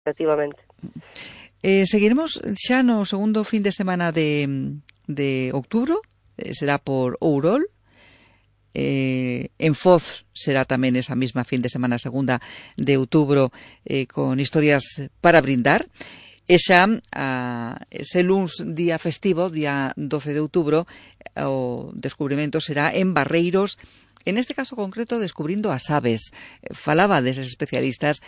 efectivamente. Seguiremos xa no segundo fin de semana de outubro, será por Ourol. En Foz será tamén esa mesma fin de semana segunda de outubro, con historias para brindar. E xa ese luns día festivo, día 12 de outubro, o descubrimento será en Barreiros, en este caso concreto descubrindo as aves. Falaba deses especialistas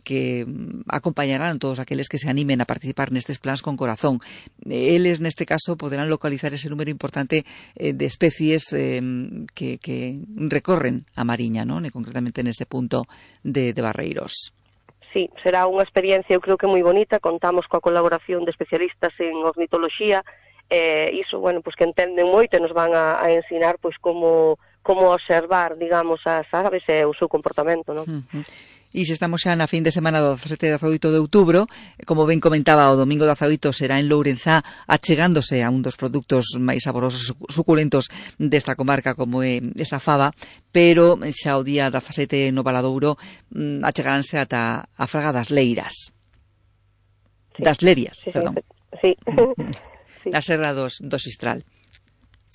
que acompañarán todos aqueles que se animen a participar nestes plans con corazón. Eles neste caso poderán localizar ese número importante de especies que recorren a Mariña, non? E concretamente nese punto de Barreiros. Sí, será unha experiencia, eu creo que moi bonita. Contamos coa colaboración de especialistas en ornitoloxía, iso, bueno, pues que entenden moito e nos van a ensinar pois como observar, digamos, as aves e o seu comportamento, non? E se estamos xa na fin de semana do 17 e 18 de outubro, como ben comentaba, o domingo 18 será en Lourenzá, achegándose a un dos produtos máis saborosos, suculentos desta comarca, como é esa fava, pero xa o día 17 no Valadouro achegaránse ata a Fraga das Leiras. Sí. Das Lerias, sí, perdón. Sí. Sí. Na Serra do Xistral.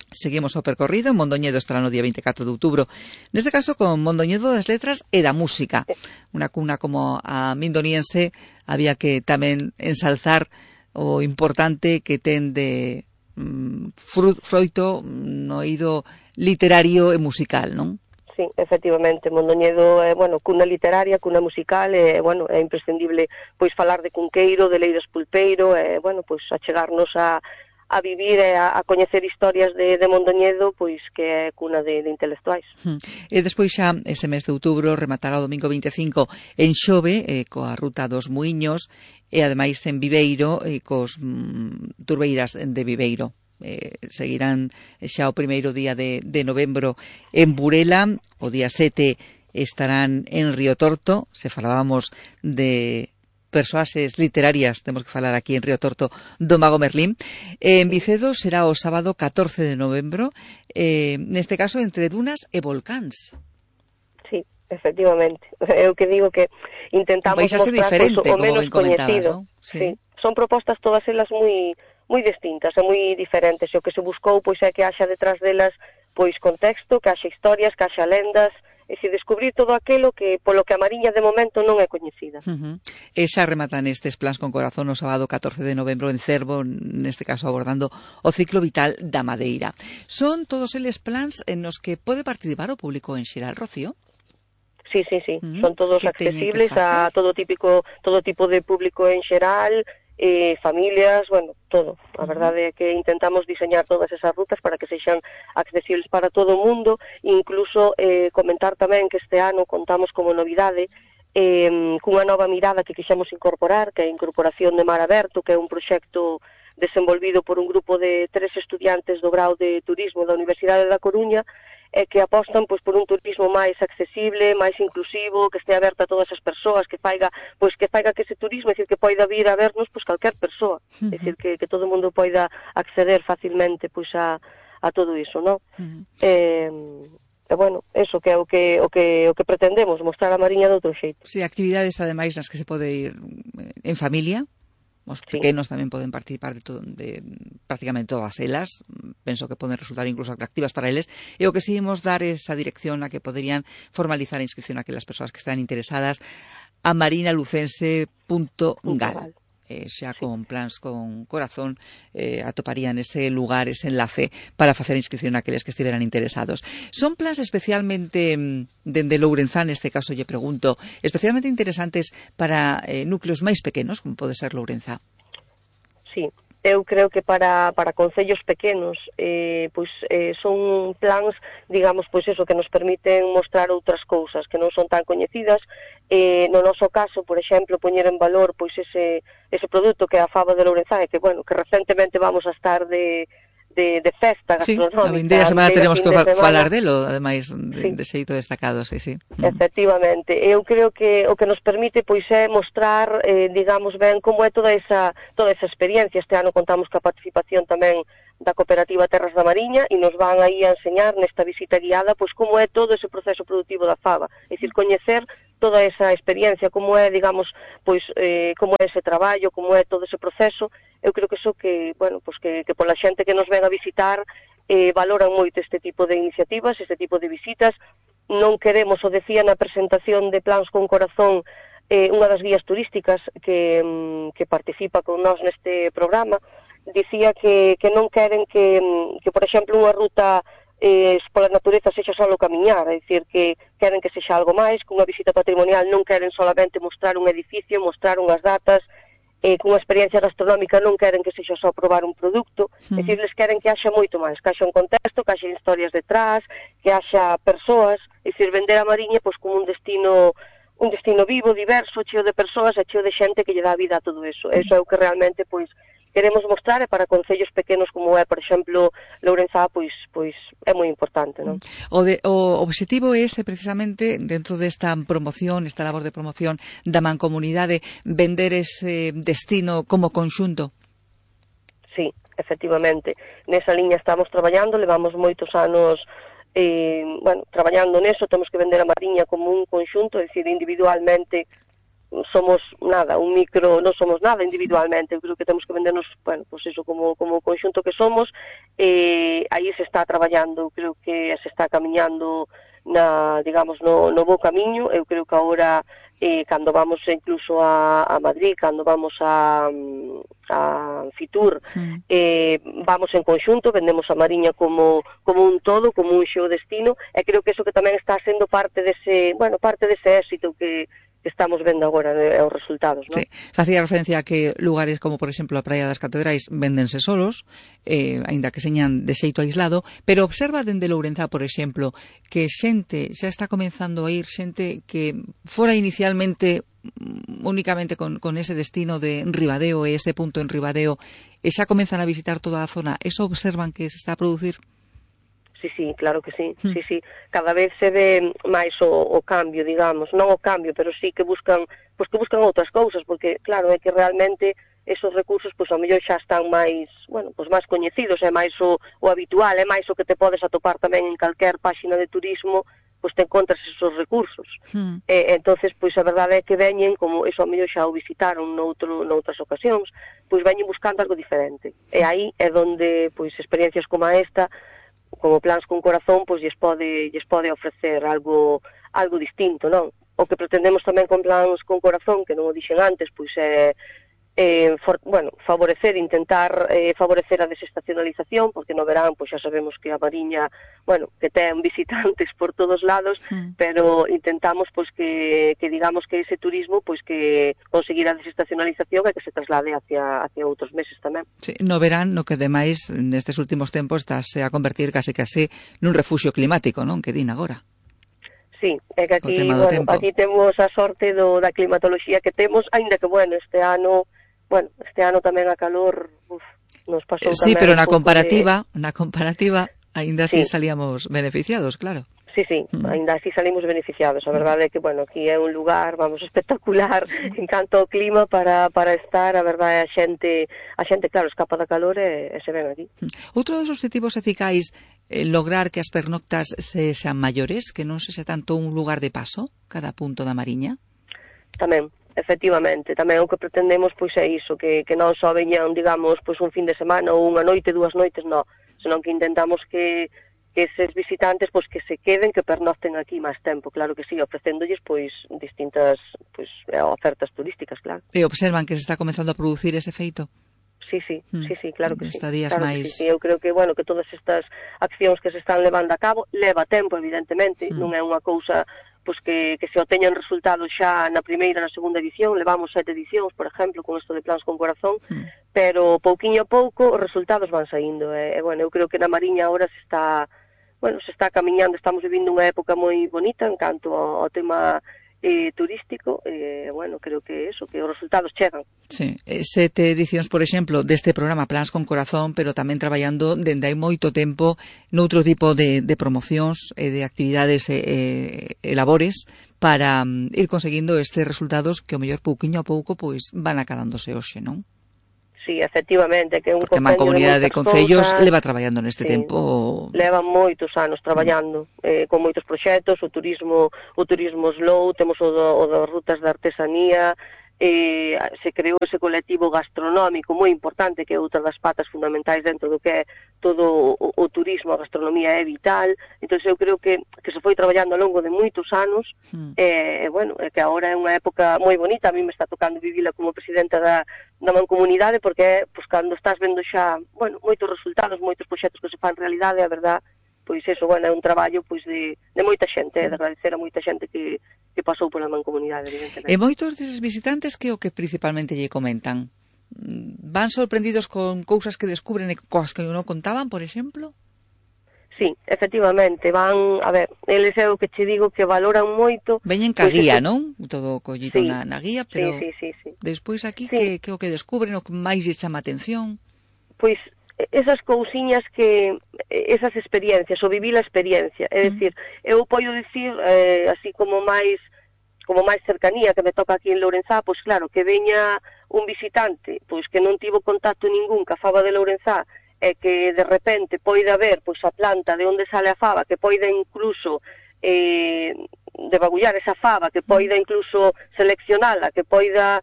Seguimos o percorrido. En Mondoñedo estará no día 24 de outubro, neste caso con Mondoñedo das Letras e da Música. Unha cuna como a mindoniense, había que tamén ensalzar o importante que ten de froito no eido literario e musical, non? Sí, efectivamente, Mondoñedo é, bueno, cuna literaria, cuna musical, e, bueno, é imprescindible pois falar de Cunqueiro, de Leiras Pulpeiro, e, bueno, pois achegarnos a vivir e a coñecer historias de Mondoñedo, pois que é cuna de intelectuais. E despois xa ese mes de outubro rematará o domingo 25 en Xove, coa ruta dos Muiños, e ademais en Viveiro, cos turbeiras de Viveiro. Seguirán xa o primeiro día de novembro en Burela, o día 7 estarán en Río Torto. Se falábamos de persoaxes literarias, temos que falar aquí en Río Torto do Mago Merlín. En Vicedo será o sábado 14 de novembro, neste caso entre dunas e volcáns. Sí, efectivamente. Eu que digo que intentamos mostrar diferente, o menos coñecido, ¿no? Sí. Son propostas todas elas moi distintas e moi diferentes, e o que se buscou pois é que haxa detrás delas pois contexto, que haxa historias, que haxa lendas, e se descubrir todo aquilo que polo que a Mariña de momento non é coñecida. E xa rematan estes plans con corazón o sábado 14 de novembro en Cervo, neste caso abordando o ciclo vital da madeira. Son todos eles plans en nos que pode participar o público en xeral, Rocío? Sí. Son todos accesibles a todo tipo de público en xeral, familias, bueno, todo. A verdade é que intentamos diseñar todas esas rutas para que sexan accesibles para todo o mundo. Incluso comentar tamén que este ano contamos como novidade cunha nova mirada que quixemos incorporar, que é a incorporación de Mar Aberto, que é un proxecto desenvolvido por un grupo de 3 estudiantes do grau de Turismo da Universidade da Coruña, que apostan pois por un turismo máis accesible, máis inclusivo, que este aberto a todas as persoas, que faiga que ese turismo, é dicir, que poida vir a vernos pois calquer persoa, é dicir, que todo o mundo poida acceder facilmente pois a todo iso, non? E bueno, eso que é o que pretendemos, mostrar a Mariña de outro xeito. Si, actividades ademais nas que se pode ir en familia. Os pequenos tamén poden participar de prácticamente todas elas. Penso que poden resultar incluso atractivas para eles. E o que si imos dar esa dirección a que poderían formalizar a inscripción a aquelas persoas que están interesadas a marinalucense.gal. Xa con plans con corazón atoparían ese lugar, ese enlace para facer a inscripción a aqueles que estiveran interesados. Son plans especialmente dende Lourenzá, neste caso lle pregunto, especialmente interesantes para núcleos máis pequenos, como pode ser Lourenzá. Sí, eu creo que para concellos pequenos son plans, digamos, pois eso, que nos permiten mostrar outras cousas que non son tan coñecidas. No noso caso, por exemplo, poñer en valor pois ese produto que é a fava de Lourenzá, que, bueno, que recentemente vamos a estar de festa gastronómica. Sí, a vindeira semana teremos que falar delo, ademais de xeito destacado, sí. Efectivamente, eu creo que o que nos permite pois é mostrar, digamos ben, como é toda esa experiencia. Este ano contamos coa participación tamén da Cooperativa Terras da Mariña e nos van aí a enseñar nesta visita guiada pois como é todo ese proceso productivo da fava, é dicir, coñecer toda esa experiencia, como é, digamos, pois como é ese traballo, como é todo ese proceso. Eu creo que eso que, bueno, pois que pola xente que nos ven a visitar valoran moito este tipo de iniciativas, este tipo de visitas. Non queremos, o decía na presentación de Plans con Corazón, unha das guías turísticas que participa con nós neste programa, dicía que non queren que por exemplo, unha ruta pola natureza sexa só camiñar, é dicir, que queren que sexa algo máis, que unha visita patrimonial non queren solamente mostrar un edificio, mostrar unhas datas, cunha experiencia gastronómica non queren que sexa só probar un produto, é dicir, les queren que haxa moito máis, que haxa un contexto, que haxa historias detrás, que haxa persoas, é dicir, vender a Mariña pois como un destino vivo, diverso, cheo de persoas e cheo de xente que lle dá vida a todo eso. Eso é o que realmente pois queremos mostrar, e para concellos pequenos como é, por exemplo, Lourenzá, pois é moi importante, non? O obxectivo é precisamente, dentro desta promoción, esta labor de promoción da mancomunidade, vender ese destino como conxunto. Sí, efectivamente. Nesa liña estamos traballando, levamos moitos anos traballando neso. Temos que vender a Mariña como un conxunto, é dicir, individualmente somos nada, non somos nada individualmente. Eu creo que temos que vendernos, pois iso como conxunto que somos. Aí se está traballando, creo que se está camiñando digamos, no bo camiño. Eu creo que agora, cando vamos incluso a Madrid, cando vamos a Fitur, vamos en conxunto, vendemos a Mariña como un todo, como un xeodestino, e creo que eso que tamén está sendo parte dese éxito que estamos vendo agora, os resultados, non? Sí. Facía referencia a que lugares como, por exemplo, a Praia das Catedrais véndense solos, aínda que señan de xeito aislado, pero observa dende Lourenzá, por exemplo, que xente xa está comenzando a ir, xente que fora inicialmente únicamente con ese destino de Ribadeo e ese punto en Ribadeo, e xa comenzan a visitar toda a zona. Eso observan que se está a producir? Sí, claro que sí, sí. Cada vez se ve máis o cambio, digamos, non o cambio, pero sí que buscan outras cousas, porque claro, é que realmente esos recursos, pois ao mellor xa están máis, máis coñecidos, é máis o habitual, é máis o que te podes atopar tamén en calquer páxina de turismo, pois te encontras esos recursos. Entonces, pois a verdade é que veñen, como eso ao mellor xa o visitaron noutras ocasións, pois veñen buscando algo diferente. E aí é onde, pois, experiencias como esta, como Plans con Corazón, pois lles pode ofrecer algo distinto, non? O que pretendemos tamén con Plans con Corazón, que non o dixen antes, pois é intentar favorecer a desestacionalización, porque no verán, pois xa sabemos que a Mariña, que ten visitantes por todos lados, pero intentamos pois que digamos que ese turismo, pois que conseguir a desestacionalización e que se traslade hacia outros meses tamén. Sí, no verán, no que demais nestes últimos tempos estáse a convertir case nun refuxio climático, non? Que din agora. Sí, é que aquí temos a sorte da climatoloxía que temos, aínda que este ano tamén a calor nos pasou tamén. Sí, pero na comparativa, aínda así salíamos beneficiados, claro. Sí, aínda así salimos beneficiados. A verdade é que, aquí é un lugar, espectacular en canto ao clima para estar. A verdade, a xente, claro, escapa da calor e se ven aquí. Outro dos objetivos eficais lograr que as pernoctas sexan maiores, que non sexa tanto un lugar de paso cada punto da Mariña? Tamén. Efectivamente, tamén o que pretendemos pois é iso, que non só veñan, digamos, pois un fin de semana ou unha noite, 2 noites, non, senón que intentamos que eses visitantes pois que se queden, que pernocten aquí máis tempo, claro que sí, ofrecéndolles pois distintas ofertas turísticas, claro. E observan que se está comenzando a producir ese feito? Sí, claro que sí. Estadías máis... Sí, eu creo que, que todas estas accións que se están levando a cabo, leva tempo, evidentemente, non é unha cousa pois que se obteñan resultados xa na primeira, na segunda edición. Levamos 7 edicións, por exemplo, con isto de Plans con Corazón, pero pouquiño a pouco os resultados van saindo. Eu creo que na Mariña agora se está camiñando, estamos vivindo unha época moi bonita en canto ao tema turístico, creo que que os resultados chegan. Sí, 7 edicións, por exemplo, deste programa Plans con Corazón, pero tamén traballando dende hai moito tempo noutro tipo de promocións e de actividades e labores para ir conseguindo estes resultados que o mellor pouquiño a pouco pois van acadándose hoxe, non? sí, efectivamente, que é un porque a Mancomunidade de Concellos leva traballando neste sí, tempo. Leva moitos anos traballando con moitos proxectos, o turismo slow, temos o das rutas de artesanía, se creou ese colectivo gastronómico moi importante, que é outra das patas fundamentais dentro do que é todo o turismo, a gastronomía é vital. Entón eu creo que se foi traballando ao longo de moitos anos, bueno, é que agora é unha época moi bonita. A mí me está tocando vivila como presidenta da Mancomunidade, porque é, pois, cando estás vendo xa, bueno, moitos resultados, moitos proxectos que se fan realidade, a verdad, pois eso, bueno, é un traballo pois de moita xente, de agradecer a moita xente que pasou pola Mancomunidade, evidentemente. E moitos deses visitantes que o que principalmente lle comentan? Van sorprendidos con cousas que descubren e cousas que non contaban, por exemplo? Sí, efectivamente, van, a ver, eles é o que che digo que valoran moito. Veñen ca guía, non? Todo collito na guía, pero sí. Despois aquí que o que descubren, o que máis lle chama a atención? Pois esas cousiñas que, esas experiencias, o vivir a experiencia, é dicir, eu podo dicir, así como máis cercanía que me toca aquí en Lourenzá, pois claro, que veña un visitante, pois que non tivo contacto ningún ca fava de Lourenzá, e que de repente poida ver pois a planta de onde sale a fava, que poida incluso debagullar esa fava, que poida incluso seleccionala, que poida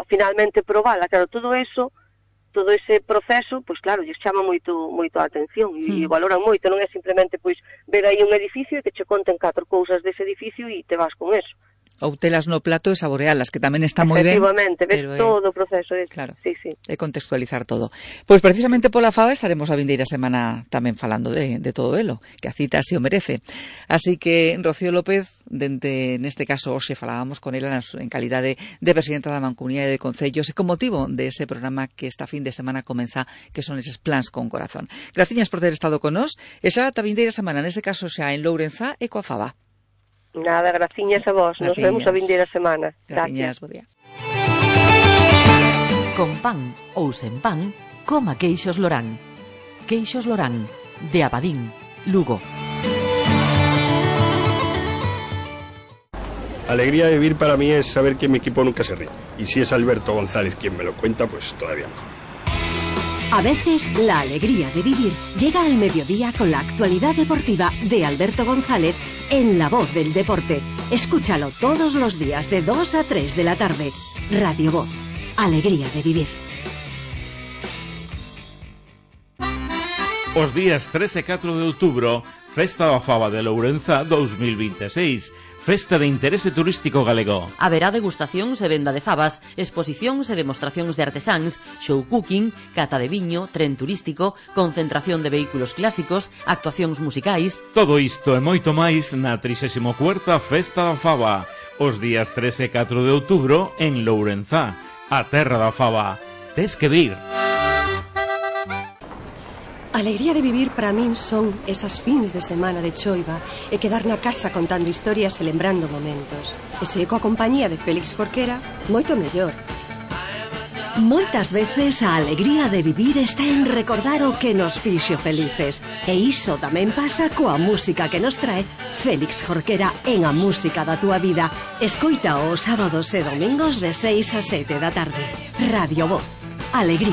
finalmente probala, claro, todo ese proceso, pois claro, lles chama moito a atención e valoran moito, non é simplemente pois ver aí un edificio e que che conten 4 cousas dese edificio e te vas con eso. Ou telas no plato e saborealas, que tamén está moi ben. Efectivamente, ves todo o proceso. Claro, sí. E contextualizar todo. Pois precisamente pola fava estaremos a vindeira semana tamén falando de todo elo, que a cita así o merece. Así que Rocío López, neste caso hoxe falábamos con ela en calidade de presidenta da Mancomunidade de Concellos e con motivo de ese programa que esta fin de semana comeza, que son eses plans con corazón. Graciñas por ter estado con nós, e xa ata vindeira semana, nese caso xa en Lourenzá e coa fava. Nada, graciñas a vos. Nos vemos a vindeira semana. Graciñas, bo día. Con pan ou sen pan, coma Queixos Lorán. Queixos Lorán, de Abadín, Lugo. Alegría de vivir para mí es saber que mi equipo nunca se ríe. Y si es Alberto González quien me lo cuenta, pues todavía mejor. A veces, la alegría de vivir llega al mediodía con la actualidad deportiva de Alberto González en La Voz del Deporte. Escúchalo todos los días de 2 a 3 de la tarde. Radio Voz. Alegría de vivir. Os días 3 e 4 de outubro, Festa da Fava de Lourenzá 2026. Festa de interese turístico galego. Haberá degustacións e venda de favas, exposicións e demostracións de artesáns, show cooking, cata de viño, tren turístico, concentración de vehículos clásicos, actuacións musicais. Todo isto e moito máis na 34ª Festa da Fava, os días 3 e 4 de outubro en Lourenzá, a terra da fava. Tes que vir. Alegría de vivir para min son esas fins de semana de choiva e quedar na casa contando historias e lembrando momentos. E se coa compañía de Félix Jorquera, moito mellor. Moitas veces a alegría de vivir está en recordar o que nos fixo felices. E iso tamén pasa coa música que nos trae Félix Jorquera en A Música da Túa Vida. Escoita os sábados e domingos de 6 a 7 da tarde. Radio Voz. Alegría